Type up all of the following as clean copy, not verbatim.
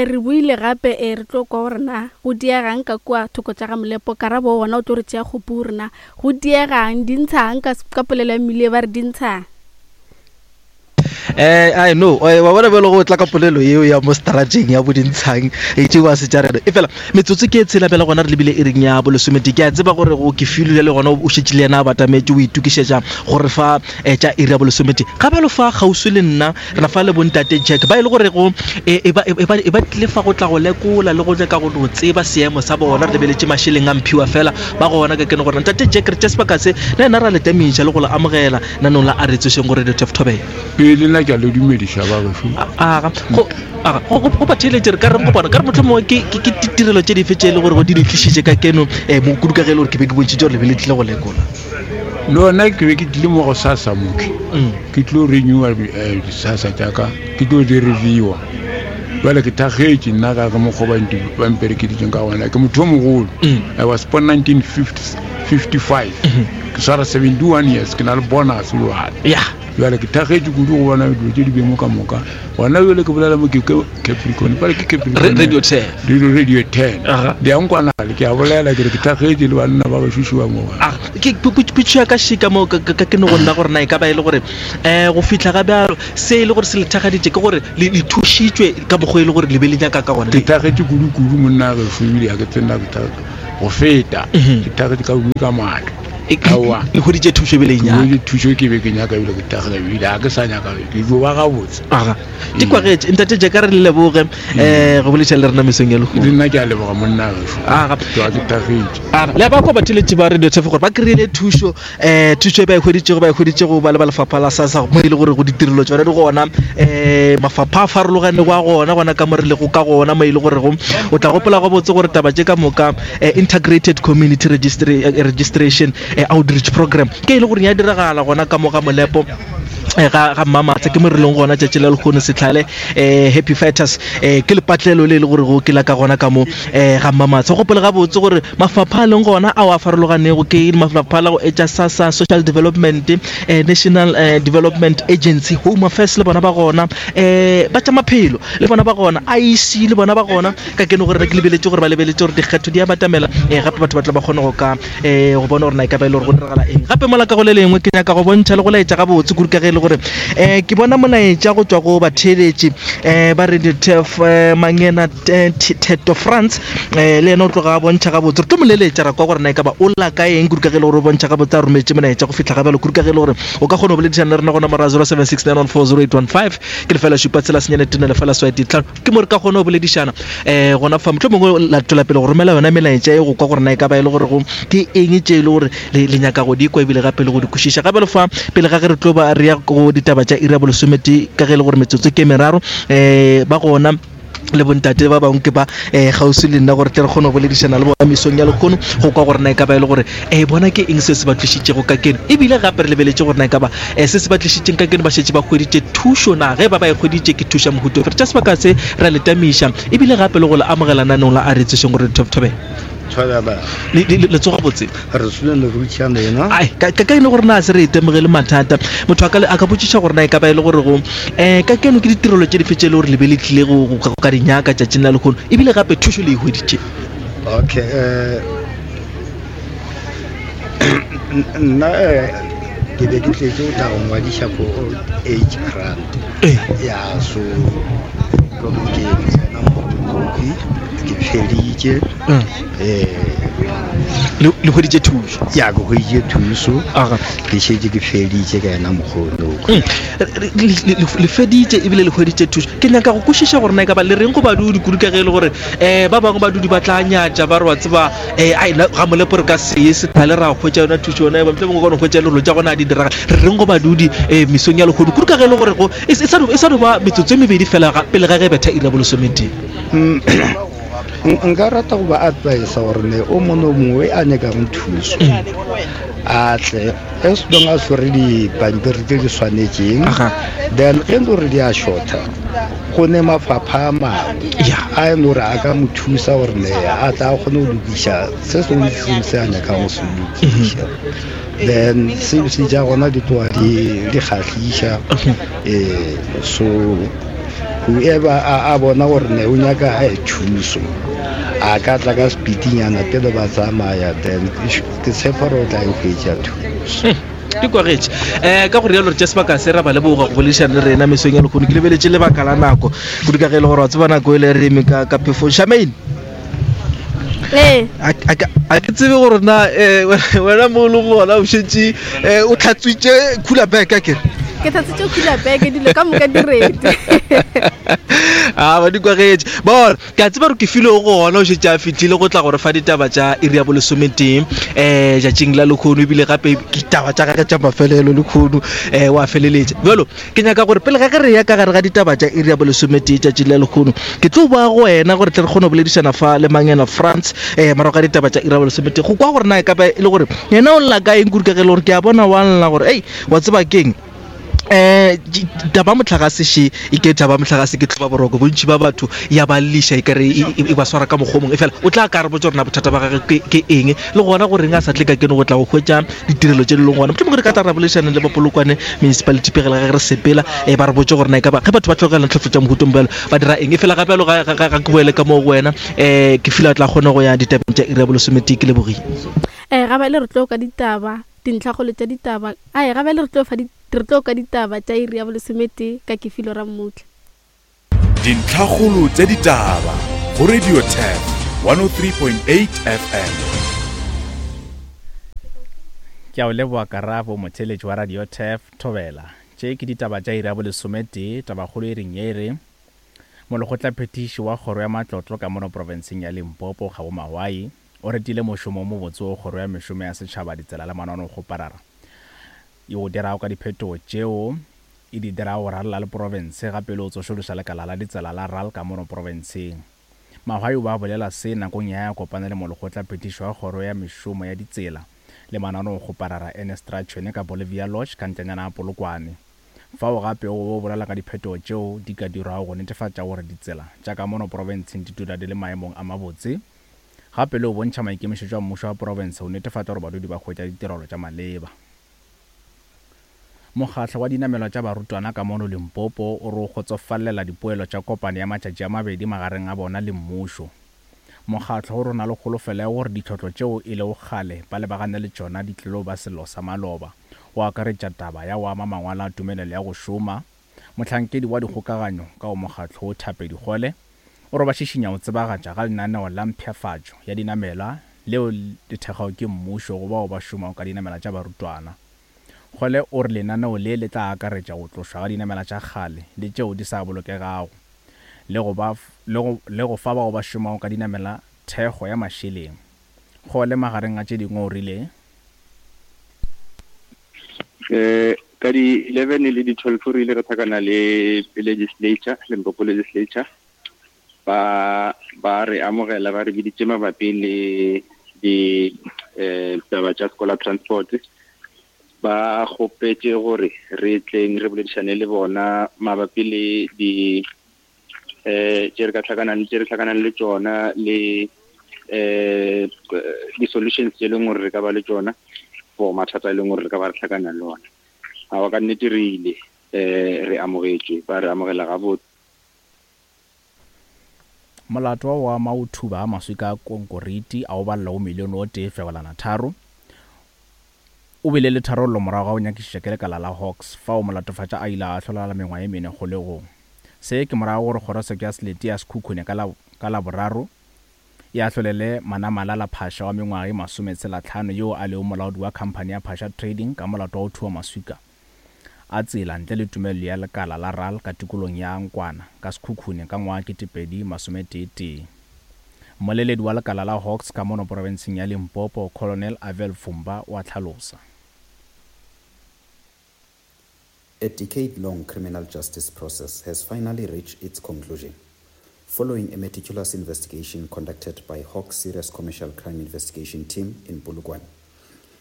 E, re boile gape e re tlo kwa gore na go diegang ka kua thoko tša ga Molepo. Karabo gona o tlo re tšea kgopu gore na go diegang, di ntshang ka, ka polelo ya mmile ba re di ntshang. Eh, I know. Eh, wa bona bjalo go tla ka polelo yeo ya mo strateng ya bodintshang e tšeo a se tša rena. E fela metsotso ke e tshela bjale gona re lebile e reng ya bolesomete. Ke a tseba gore go ke filo le gona o šetše le yena a batametše o itokišetša gore fa eh, tša iri ya bolesomete. Ga bjalo fa kgauswi le nna re na fa le bontate Jack ba e le gore go e, e ba e ba e ba tlile fa go tla go lekola le go nyaka go no tseba seemo sa bona re lebeletše mašeleng a mphiwa fela ba gona ka kene gore ntate Jack re tše sebaka se le yena ra le tamiša le go le amogela nanong la a re tsošeng go Radio Tef Thobela. Ee, le nna ke a le dumediša ba gešo. Aga, go aga, go go batheeletše re ka reng go bona ka re mohlomongwe ke ke ke ditirelo tše dife tše e le gore go di le tlišitše ka keno um mo kudu ka ge e le gore ke be ke bontšhitše gore le be le tlile go lekola. No, nna ke be ke tlile mo go sasa moke Mm. ke tlo renewa eh, disasa tša ka ke tlo di reviewa bjale ke thakgetše nna ka ge mokgwa ba nti- ba mperekeditseng ka gona ke motho o mogolo Mm. I was born 1955 ke swara 71 years ke na le bonus jale ya jale ke thakgetše kudu go bona dilo tše di bemo ka moka gona jale ke bolela mo ke ke capricorn pale ke capricorn radio 10 radio radio 10 Aha. di a nkwanale ke a bolela ke re ke thakgetše le banna ba ba šušiwa mo Ah, ke potšo ya ka šika mo ka ka- ke no go nna gore na e ka ba e le gore um go fihla ga bjalo se e le gore se le thagaditše ke gore le le thušitšwe ka mokgwa e le gore le be le nyaka ka gona ke thakgetše kudu-kudu monna gešo ebile ga ke tsena go feta Mhm. ke thakgetše ka kudu ka maatla aowa le hweditše thušo ebile e nyaka ke thušo ke be ke nyaka ebile ke thakgela ebile ga ke sa nyaka ke dio ba gabotse aga di kwagetše ntate jaaka re le leboge um go boletša le rena mesong ya lehono le nna ke a leboga monna gešo aga ke ke thakgetše aga le ba kwa batheletši ba radio tshefo gore ba kry-ile thušo um thušo e ba e hweditšego ba e hweditšego ba le ba lefapha la sasa mo e le gore go ditirelo tsone di gona um mafapha a farologanego a gona gona ka mo re lego ka gona mo e le gorego o tla gopola gabotse gore taba tše ka moka eh, integrated community Registry, eh, registration eh, outreach program ke e le gore ya diragala gona ka mo ga molepo eh, ga ga mmamatsa ke mo re leng gona tšatši la lekgono setlhale eh, happy fighters eh, ke lepatlelo le e le gore go ke la ka gona ka mo eh, ga mmamatsa gopole gabotse gore mafapha a leng gona ao a farologanego ke mafapha la go etša sasa social development eh, national eh, development agency home affairs le bona ba gona eh, ba tša maphelo le bona ba gona iec le bona ba gona ka keno gore ke lebeletše gore ba lebeletše gore dikgetho di a batamela um gape batho ba tla ba kgone go ka um go bona gore na e ka ba e le gore go diragala eng gape mola ka go le lengwe ke nyaka go bontšha le go laetša gabotse kudu ka ge e le gore um ke bona molaetša go tšwa go batheeletši um ba radio tef mangena theto france um le yena o tloga a bontšha gabotse re tlo mo leletša ra kwa gore na e ka ba o lla ka eng kudu ka ge e le gore o bontšha gabotse a rometše molaetša go fihla ga bjalo kudu ka ge e le gore o ka kgona go boledišana le rena go nomoro ya 0769140815 ke lefela šupa tshela senyane tene lefela swae ditlhano ke mo re ka kgona go boledišana um gona fa motlho mongwe la tswela pele go romela yona melaetša e go kwa gore na e ka ba e le gore go ke eng tše e le gore le nyaka go di kwa ebile gape le go di kwešiša gape le fa pele ga ge re tlo ba re ya go ditaba tša iri ya bolesomete ka ge e le gore metsotso ke meraro um ba gona le bontate ba bangwe ke ba um kgauswi le nna gore tle re kgone go boledišana le bona mesong ya lekgono go kwa gore na e ka ba e le gore um bona ke eng se se ba tlišitšego ka keno ebile gape re lebeletše gore na e ka ba um se se ba tlišitšeng ka keno ba šetše ba hweditše thušo na ge ba ba e hweditše ke thuša mohuto re tša sebaka se ra le tamiša ebile gape le go le amogela nanong la a re tsošeng gore thobethobela le tsoga botse re sone le rutšha lena ai ka ka e le gore na se re itemogele mathata motho a ka a ka botšiša gore na e ka ba e le gore go um ka keno ke ditirelo tše dife tše e le gore le be le tlile go go ka di nyaka tšatšing la lehono ebile gape thušo le e hweditše okay um nna eh, ke be ke tletse go tla go ngwadiša for old age grant ya so ke tsena mo ke feditše Mm. eh le le hweditše thušo ya ke hweditše thuso Aga. ke šetše ke feditše ka yena mokgono Mm. Le- le- le le feditše ebile le hweditše thušo ke nyaka go kwešiša gore na e ka ba le reng go badudi kudu ka ge e le gore um ba bangwe badudi ba tla nyatša ba re wa tseba um ai na ga molepo re ka seye sethale ra hwetša yona thušo yona motlho mongwe kone hwetša lerolo tša gona a di diraga re reng go badudi um mesong ya lehono kudu ka ge e le gore go e e sa no e sa no ba metsotso e mebedi fela ga- pele ga ge betha iri ya bolesometee Nka rata go ba advisa gore ne o mongwe o mongwe a nyakago thuso a tle as long a swere dipampiri tse di swanetšeng then ge e le gore di a shorta go ne mafapha a mangwe a e le gore a ka mo thusa gore ne a tla kgone go lokiša se sengwe le sengwe se a nyakang go se lokiša then service tša gona di tloga di kgahliša um so. Whoever a, a bona gore ne o nyaka eh, thuso a ka tla ka speedinyana pele ba tsamaya then ke tshepa gore o tla e hwetša thuso. Di kwagetše. Um ka go rialo re tša sebaka se ra ba leboga go boledišana le rena mesong ya lehono. Ke lebeletše lebaka la nako kudu ka ge e le gore wa tseba nako e le re eme ka ka phefong. Charmaine. Ee. A ke tsebe gore na eh, wena mo o leng gona o šetše eh, o tlhatswitše cooler bag a kere ke tlhatswitše cooler bag dilo ka moka di ready a ba di kwagetše bona ke a tseba gore ke file o gona o šetše a fitlhile go tla gore fa ditaba tša iri ya bolesometee um jatšing la lekgono ebile gape ke taba tša gage tša mafelelo lekgono um wa feleletša bjalo Ke nyaka gore pele ga ge re ya ka gare ga ditaba tša iri ya bolesometee tšatši la lehono, ke tlo boa go wena gore tle re kgone go boledišana fa le Mangena Frans um morago ga ditaba tša iri ya bolesometee go kwa gore na e ka ba e le gore yena o lla ka eng kudu ka ge e le gore ke a bona wa lla gore ei wa tseba keng um taba mohlagase še e ke taba mohlagase ke tlhoba boroko bontši ba batho ya ba lliša e kare e, e, e ba swara ka mokgwa o mongwe e fela o tla ka re botsa gore na bothata ba gage ke eng le gona goreng a sa tle ka keno go tla go hwetša ditirelo tše di leng gona mohlomongwe re ka tla ra boledišana le ba Polokwane municipality pegela ge re sepela um ba re botse gore na e ka ba ge batho ba tlogela tlhotlo tša mohutong bjalo ba dira eng e fela gape jalo ga ke boele ka moo go wena um ke fila tla kgone go ya ditabeng tša iri ya bolesometee ke lebogile. Um ga bjale re tlo ka ditaba dintlhakgolo tša ditaba ae ga bjale re tlo fa re tlo ka ditaba tša iri ya bolesometee ka Kefilo Rammutla. Dintlhakgolo tša ditaba go Radio Turf 103.8 FM. Ke a o leboa Karabo, motheeletši wa Radio Turf, Thobela. Tše ke ditaba tša iri ya bolesometee, tabakgolo e reng ye e re, Molekgotlaphethiši wa Kgoro ya Matlotlo ka mono profenseng ya Limpopo, Kgabo Mahwai, o retile mošomo o mobotse wo Kgoro ya Mešomo ya Setšhaba, Ditsela le Mananokgoparara e o dirago ka diphetogo tšeo e di dirago go rarela le profense gape le go tsošološa lekala la ditsela la ral ka mono profenseng. Mahwai o be a bolela se nakong ya ya kopana le molekgotla phethišo wa kgoro ya mešomo ya ditsela le mananeokgoparara Ernest Ratšhwene ka Bolivia Lodge ka ntlenyana ya Polokwane. Fao gape o be o bolela ka diphetogo tšeo di ka dirwago go netefatša gore ditsela tša ka mono profenseng di dula di le maemong a mabotse gape le go bontšha maikemišetšo a mmušo wa profense go netefatša gore badudi ba hwetša ditirelo tša maleba. Mokgatlo wa dinamelwa tša barutwana ka mono Limpopo o re o kgotsofalela dipoelo tša kopano ya matšatši a mabedi magareng a bona le mmušo. Mokgatlo o re o na le kholofelo ya gore ditlhotlo tšeo e lego kgale ba lebagane le tšona di tlilo ba sello sa maloba, go akaretša taba ya go ama mangwalo a tumelelo ya go šoma. Mohlankedi wa dikgokaganyo ka go mokgatlo wo Thapedi Kgole o re ba šišinya go tsebagatša ga lenaneo la mpshafatšo ya dinamelwa leo le thekgago ke mmušo go bao ba šomago ka dinamela tša barutwana. Kgole o re lenaneo le le tla akaretša go tlošwa ga dinamela tša kgale le tšeo di sa bolokegago le go ba le go le go fa bao ba šomago ka dinamela thekgo ya mašeleng. Kgole magareng a tše dingwe o rile. Eh, ka di 11 le di 12 re ile re thakana le legislature, Limpopo legislature, ba ba re amogela ba re biditše mabapi le di eh taba tša scholar transport ba kgopetše gore re tleng re boledišane le bona mabapi le di eh tše re ka tlhakanang tše re tlhakanang le tšona le eh di-solutions tše e leng gore re ka ba le tšona for mathata e leng gore re ka ba re tlhakana le ona awa ka nnete re ile eh re amogetšwe ba re amogela gabotse Molato wa go ama go thuba ga maswika a konkoriti a go balela go milione o tee fegelwana tharo o bile le tharollo morago ga go nyakišiša ke lekala la Hawks fao molatofatša a ile a ahlolelwa mengwaga ye mene kgolegong. Se ke morago gore kgorotsheko ya selete ya Sekhukhune ka la ka Laboraro e ahlolele Manamalala Phasha wa mengwaga ye masometshelatlhano yoo a lego molaodi wa khamphani ya Phasha Trading ka molato wa go thuba maswika a tsela ntle le tumelelo ya lekala la ral ka tikolong ya Nkwana ka Sekhukhune ka ngwaga 2011. Mmoleledi wa lekala la Hawks ka mono porofenseng ya Limpopo, Colonel Avel Fumba o a hlalosa. A decade-long criminal justice process has finally reached its conclusion. Following a meticulous investigation conducted by Hawks Serious Commercial Crime Investigation Team in Polokwane,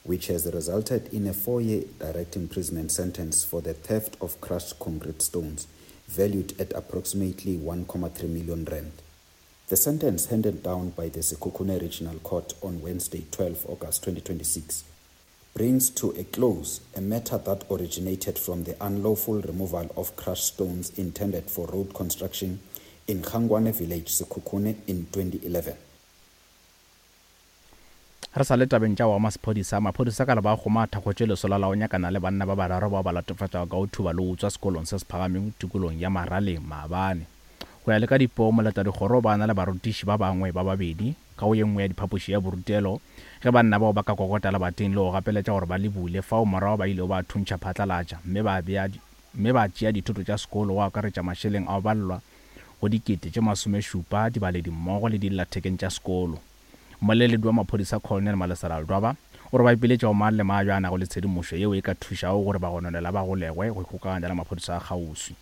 which has resulted in a four-year direct imprisonment sentence for the theft of crushed concrete stones valued at approximately 1.3 million rand. The sentence handed down by the Sekhukhune Regional Court on Wednesday, 12 August 2026, brings to a close a matter that originated from the unlawful removal of crushed stones intended for road construction in Khangwane village, Sekhukhune in 2011. Re sa le tabeng tša wa masephodisa, maphodisa ka leba kgoma a thakgotše lesolo la go nyakana le banna ba bararo bao ba latofatšwago ka go thuba le go utswa sekolong se se phagamego tikolong ya Maraleng maabane. Go ya le ka dipoo, moletadikgoro o ba na le barutiši ba bangwe ba babedi ka go ye nngwe ya diphapoši ya borutelo ge banna bao ba ka kokota lebating le go gapeletša gore ba le bule fao morago ba ilego ba thuntšha phatlalatša mme ba bea mme ba tšea dithoto tša sekolo go akaretša mašeleng a go balelwa go 70,000, dibaledi mmogo le dillathekeng tša sekolo. Mmoleledi wa maphodisa Colonel Malesela Ledwaba o re ba ipiletša go mang le mang yo a nago le tshedimošo yeo e ka thušago gore bagononelwa ba golegwe go ikgokaganya le maphodisa a kgauswi.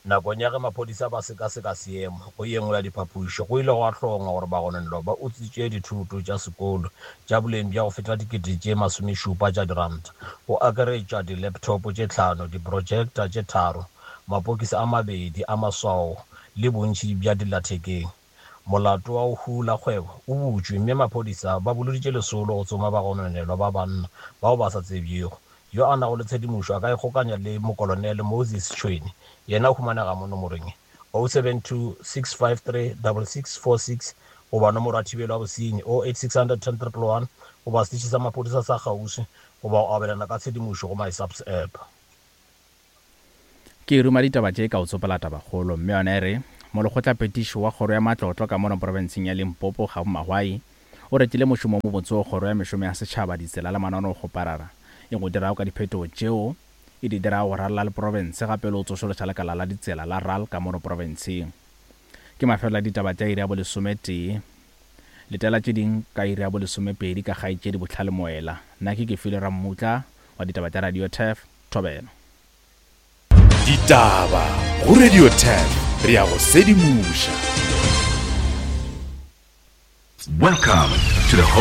Nakong ya ge maphodisa ba sekaseka seemo go ye nngwe ya diphapošo, go ile gwa hlongwa gore bagononelwa ba utswitše dithoto tša sekolo tša boleng bja go feta 70,000 tša diranta, go akaretšwa di-laptop tše tlhano, di-projector tše tharo, mapokisi a mabedi a maswao le bontši bja dillathekeng. Molato wa go hula kgwebo o butšwe mme maphodisa ba boloditše lesolo go tsoma bagononelwa ba banna bao ba sa tsebjego. Yo a nago le tshedimošo a ka ikgokanya le Mokolonele Moses Tšhwene, yena o humanega mo nomorong ye, 072 653 6646 goba nomoro ya thibelo ya bosenyi, 08600 10 111 goba seteše sa maphodisa sa kgauswi goba go abelana ka tshedimošo go MySAPS app. Ke ruma ditaba tše ka go tsopola tabakgolo, mme yona e re, Molekgotlaphethiši wa Kgoro ya Matlotlo ka mono profenseng ya Limpopo, Kgabo Mahwai, o retile mošomo o mobotse wo Kgoro ya Mešomo ya Setšhaba, Ditsela le Mananeokgoparara e go dirago ka diphetogo tšeo e di dirago go ralala le profense gape le go tsošološa lekala la ditsela la ral ka mono profenseng. Ke mafelelo a ditaba tša iri ya bolesometee. Letela tše ding ka iri ya bolesomepedi ka kgaetšedi Bohlale Moela. Nna ke Kefilwe Rammutla wa ditaba tša Radio Turf. Thobela. Ditaba go Radio 10 re ya go sedimoša. Welcome to the home.